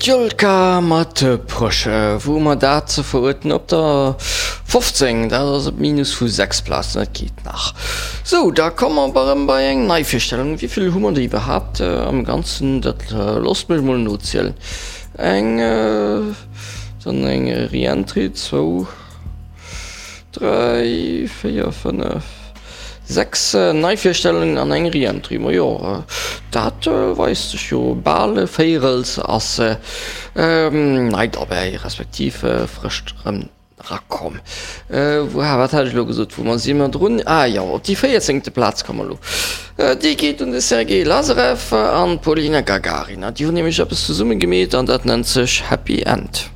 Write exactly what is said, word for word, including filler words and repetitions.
D'Jolka mat Push, wou mer dat ze veruerten op der fofzéng, dat ass e Minus vu sechs Plazen, dat geet nach. Sou, da komme mer erëm bei eng Neivirstellung. Wéi vill hu mer der iwwerhaapt am Ganzen? Dat loosst mech mol nozielen. Eng, dann eng Re-Entry, zwou, dräi, véier, fënnef, sechs Neivirstellungen an eng Re-Entry. Majo, dat weist sech jo, bal e Véirels ass nei derbäi, respektiv frësch erëm erakomm. Wou, wat hat ech elo gesot, wou mer si mer drun? Ah jo, op déi véierzéngte Plaz komme mer elo. Déi geet un de Sergei Lazarev an d'Polina Gagarina. Déi hunn nämlech eppes zesumme gemeet an dat nennt sech Happy End.